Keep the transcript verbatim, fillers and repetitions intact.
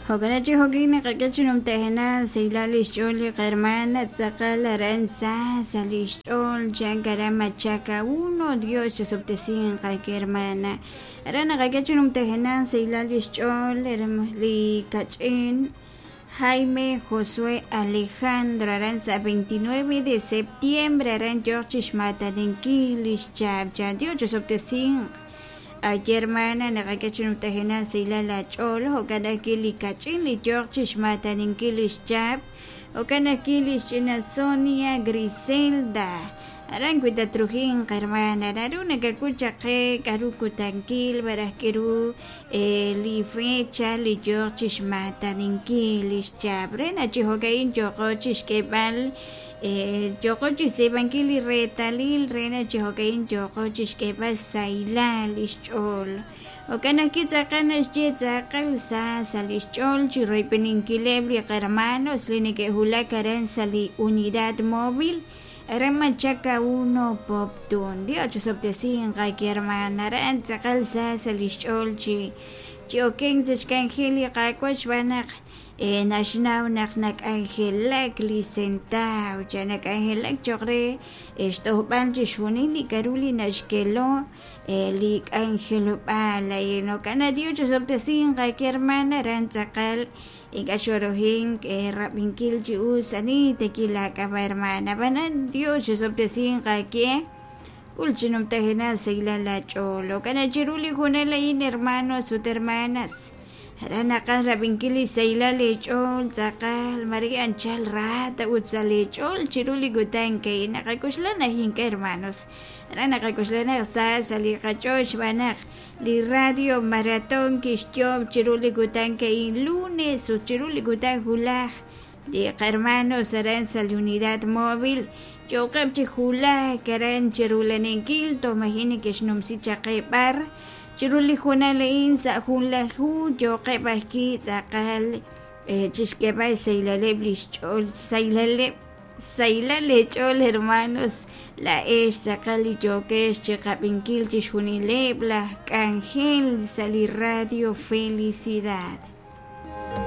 Jo'kan chi jo'kin naqak'e chi numtajenaq sahilal lix ch'ool li qahermana tz'aqal aran sa sa lix ch'ool chan aran Machaca uno. Dios chosob'tesinq qake hermana. Aran naqak'e chi numtajenaq sahilal lix ch'ool li kach'in Jaime Josué Alejandro aran sa veintinueve de septiembre aran yo'q chixmataninkil lix chaab' chan. Dios chosob'tesinq. Ay hermana naqak'e chi numtajenaq sahilal la ch'ool jo'kan ajwi' li kach'in li yo'q chixmataninkil lix chaab' jo'kan ajwi' lix ch'ina Sonia Griselda aran wi tatrujinq hermana naru nakak'ul chaq qe k'aru kutankil maraj k'aru li fecha li yo'q chixmataninkil lix chaab' re na chi jo'ka'in yo'qo chixk'eeb'al yo'qo chixtz'iib'ankil li reetalil re na chi jo'ka'in yo'qo chixk'eeb'al sahilal lix ch'ool. Jo'kan ajwi' tz'aqal naxye tz'aqal sa sa lix ch'ool chi royb'eninkileb' li qahermanos li neke'wulak aran sa li unidad móvil aran Machaca uno Poptún. Dios chosob'tesinq qake hermana aran tz'aqal sa sa lix ch'ool chi chi okenk sa xk'anjel li Qaawa' xb'aan naq naxnaw naq nak'anjelak li sentaw cha nak'anjelak cho'q re xtojb'al chixjunil li k'aru li naxkelo li k'anjelob'aal. Jo'kan Dios chosob'tesinq qake hermana aran tz'aqal ink'a' xorojink rab'inkil chi us ani tekil laak'ab'a hermana. Ab'anan Dios chosob'tesinq qake k'ul chi numtajenaq sahilal la ch'ool. Jo'kan chiru li junal a'in hermanos ut hermanas aran naqaj rab'inkil li sahilal li ch'ool tz'aqal mare anchal rata ut sa li ch'ool chiru li kutan ka'in naqak'uxla naq ink'a' hermanos aran naqak'uxla naq sa sa li qach'ool xb'aan naq li radio maratón kixyoob' chiru li kutan ka'in lunes ut chiru li kutan julaj li qahermanos aran sa li unidad móvil yo'qeb' chi julaj aran chirulaninkil toj maji' neke'xnumsi chaq qe b'ar chiru li junal a'in sa' junlaju yo'qeb' ajwi' tz'aqal chixk'eeb'al sahilaleb' lix ch'ool sahilaleb' sahilal leech'ool hermanos laa'ex tz'aqal li yookex chiqab'inkil chixjunileb' laj k'anjel sa' li radio Felicidad.